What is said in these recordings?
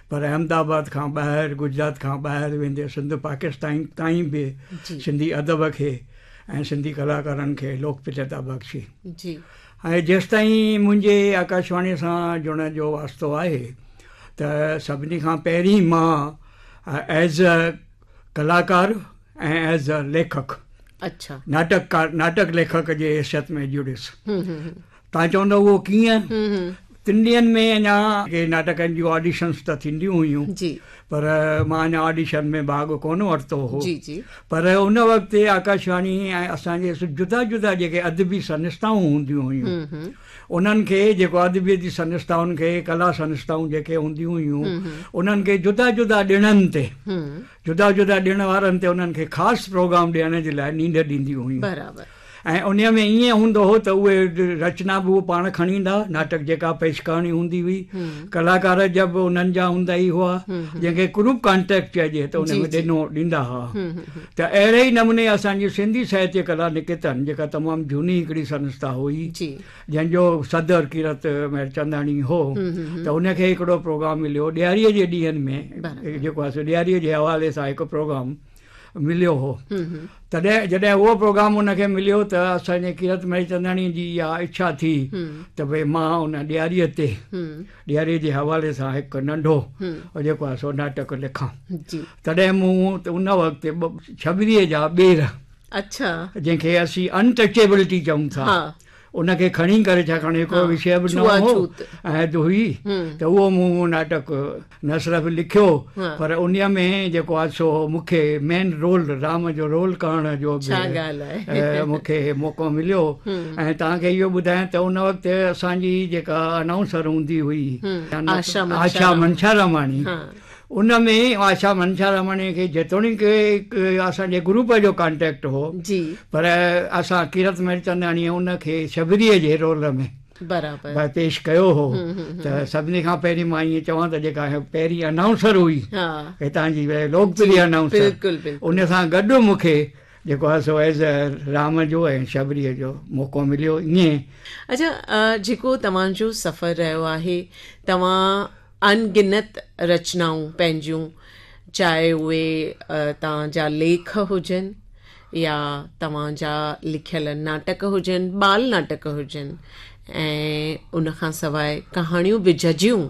پر احمد آباد کان ٻاهر گجرات کان ٻاهر ويندي سنڌ پاڪستان تائين به سنڌي ادب کي ۽ سنڌي ڪلاڪارن کي لوڪپريتا بخشي. ۽ جيستائين منهنجي آڪاشواڻي سان جڙڻ جو واسطو آهي ته سڀني کان پهرين مان ايز اي ڪلاڪار ۽ ايز اي ليکڪ اڇا ناٽڪ ناٽڪ ليکڪ جي حيثيت ۾ جڙيس. توهان چوندؤ اهو ڪيئن؟ تن ڏينهن ۾ اڃا ڪي ناٽڪن جون آڊيشنس ته ٿينديون هيون پر مان اڃا آڊيشن ۾ ڀاڳ ڪونه ورتو هو پر ان وقت آڪاشواڻي ۽ اسان جي جدا جدا جيڪي ادبي سنسٿائون هونديون هيون انهن کي جيڪو ادبي جي سنسٿائن کي ڪلا سنسٿائون جيڪي هونديون هيون انهن کي جدا جدا ڏڻن تي جدا جدا ڏڻ وارن تي انهن کي خاص پروگرام ڏيڻ جي لاء نينڍ ڏينديون هيون. برابر. ۽ انهيء ۾ ائين هوندو هو ته اهي رچنا به هو پاڻ کڻي ايندا، ناٽڪ جيڪا پيش ڪرڻي هوندي هئي، ڪلاڪار جا به انهن جا هوندا ئي هئا، جنهن کي گروپ ڪانٽريڪٽ چئجي ته ان ۾ ڏنو ڏيندا هئا. ته اهڙي ئي نموني اسان جي سنڌي ساهتيه ڪلا نڪيتن جيڪا تمام جهوني هڪڙي سنسٿا هئي، جنهن جو صدر ڪيرت مهرچنداڻي هو ته ان کي هڪڙو پروگرام مليو ڏياريء جي ڏينهن ۾ جيڪو آهي سو ڏياريء جي حوالي سان هڪ پروگرام مليو هو تڏهن جڏهن اهو پروگرام ان کي مليو ته اسان جي ڪيرت مهرچنداڻي جي اها اڇا ٿي ته ڀئي مان ان ڏياريء تي ڏياريء جي حوالي سان هڪ ننڍو جيڪو آهي سو ناٽڪ لکان تڏهن مون ان وقت شبريء جا ٻير اڇا جنهن کي اسين ان ٽچيبلٽي چئون ٿا ان کي کڻي ڪري ڇاڪاڻ هڪڙو وشيه به نئون هو ۽ هئي ته اهو مون ناٽڪ نه صرف لکيو پر ان ۾ جيڪو آهي سو مون کي مين رول رام جو رول ڪرڻ جو به مون کي موقعو مليو ۽ توهان کي اهو ٻڌايان ته ان وقت اسان جي جيڪا انائونسر هوندي هئي آشا منشاراماڻي ان ۾ آشا منشاراماڻيء کي جيتوڻيڪ اسان جي گروپ جو ڪانٽيڪٽ هو پر اسان ڪيرت مهرچنداڻيء ان کي شبريء جي رول ۾ برابر پيش ڪيو هو ته سڀني کان پهرين مان ائين چوان ته جيڪا پهرين انائونسر هئي هتان جي لوڪپريه انائونسر ان سان گڏ مون کي جيڪو آهي سو ايز رام جو ۽ شبريء جو موقعو مليو ائين. اڇا جيڪو توهان جو سفر رهيو آهي توهان ان گنت رچنائون پنهنجون چاهي اهي توهان جا ليک هجن يا توهان جا لکيل ناٽڪ هجن، ٻال ناٽڪ هجن ۽ ان کان سواء ڪهاڻيون به جهجهيون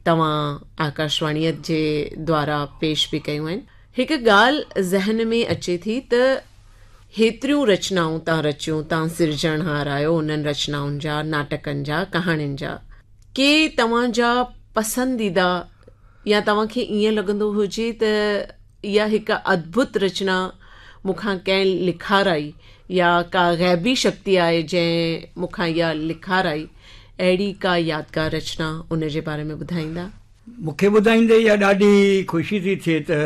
توهان آڪاشواڻيء جي دوارا پيش به ڪيون آهن. هڪ ڳالهه ذهن ۾ اچي ٿي ته هيتريون رچنائون توهان رچيون، توهان سرجڻهار آهيو انهن رچنائن جا، ناٽڪن جا، ڪهاڻين جا. ڪي توهان جا پسنديده يا توهان کي ائين لڳندو هجي ته اها هڪ ادڀت رچنا مون کان ڪنهن لکارائي يا ڪا غيبي شڪتي آهي جنهن مون کان اها لکارائي، اهڙي ڪا يادگار رچنا ان جي باري ۾ ٻڌائيندا؟ مون کي ٻڌائيندي اها ڏاڍي خوشي ٿي ٿئي ته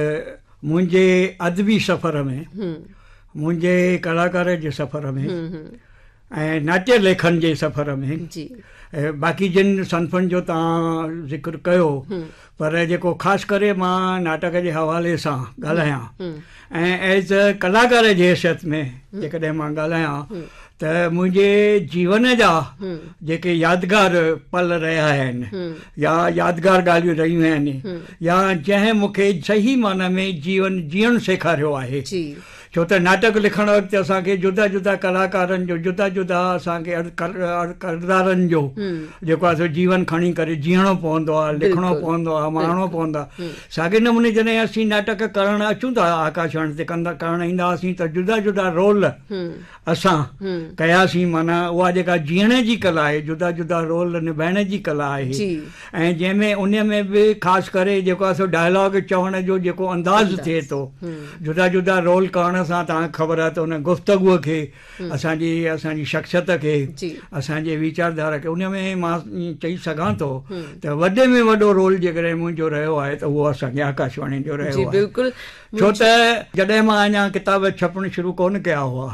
منهنجي ادبي سفر ۾، منهنجي ڪلاڪاري جي سفر ۾، ۽ ناٽيه ليکن جي سفر ۾ باقي جن صنفن جو توهان ذڪر ڪيو پر جيڪو خاص ڪري مان ناٽڪ جي حوالي سان ڳالهايان ۽ ايز اي ڪلاڪار جي حيثيت ۾ جيڪڏهن مان ڳالهايان ته منهنجي جيون جا جيڪي يادگار پل رهيا آهن يا يادگار ڳالهيون رهيون آهن يا جنهن مون کي صحيح معنيٰ ۾ جيون جيئڻ سيکاريو آهي ڇو ته ناٽڪ لکڻ وقت اسان کي جدا جدا ڪلاڪارن جو جدا جدا اسان کي ڪردارن جو جيڪو آهي سو جيون کڻي ڪري جيئڻو پوندو آهي لکڻو پوندو آهي ماڻڻو پوندو آهي ساڳي نموني جڏهن اسين ناٽڪ ڪرڻ اچون ٿا آڪاشواڻي تي ڪندا ڪرڻ ايندا هئاسين ته جدا جدا رول اسان ڪياسين معنيٰ اها جيڪا جيئڻ جي ڪلا آهي جدا جدا رول نڀائڻ جي ڪلا آهي ۽ جنهن ۾ ان ۾ به خاص ڪري جيڪو آهي سو ڊائلاگ چوڻ جو جيڪو انداز ٿئي ٿو جدا جدا رول ڪرڻ سان توهان کي خبر آهي ته ان گفتگو کي اسان جي اسان جي شخصيت کي اسان جي ويچارڌارا کي ان ۾ مان چئي سگهان ٿو ته وڏي ۾ وڏو رول جيڪڏهن منهنجو رهيو آهي ته اهو اسان جي آڪاشواڻي جو رهيو آهي ڇو ته جڏهن مان اڃا ڪتاب ڇپڻ شروع ڪونه ڪيا هئا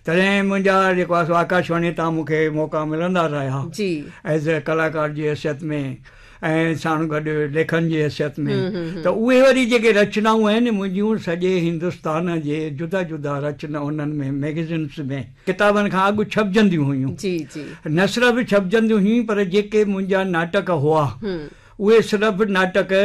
تڏهن منهنجا جيڪو آهي سو آڪاشواڻي تان مون کي موقعا ملندا رهيا ايز اي ڪلاڪار جي حيثيت ۾ ۽ ساڻ گڏ ليکن جي حيثيت ۾ ته اهي وري جيڪي رچنائون آهن منهنجيون سڄي هندستان جي جدا جدا رچنا انهن ۾ ميگزينس ۾ ڪتابن کان اڳ ڇپجنديون هيون نه صرف ڇپجنديون هيون پر جيڪي منهنجا ناٽڪ هئا اهي صرف ناٽڪ.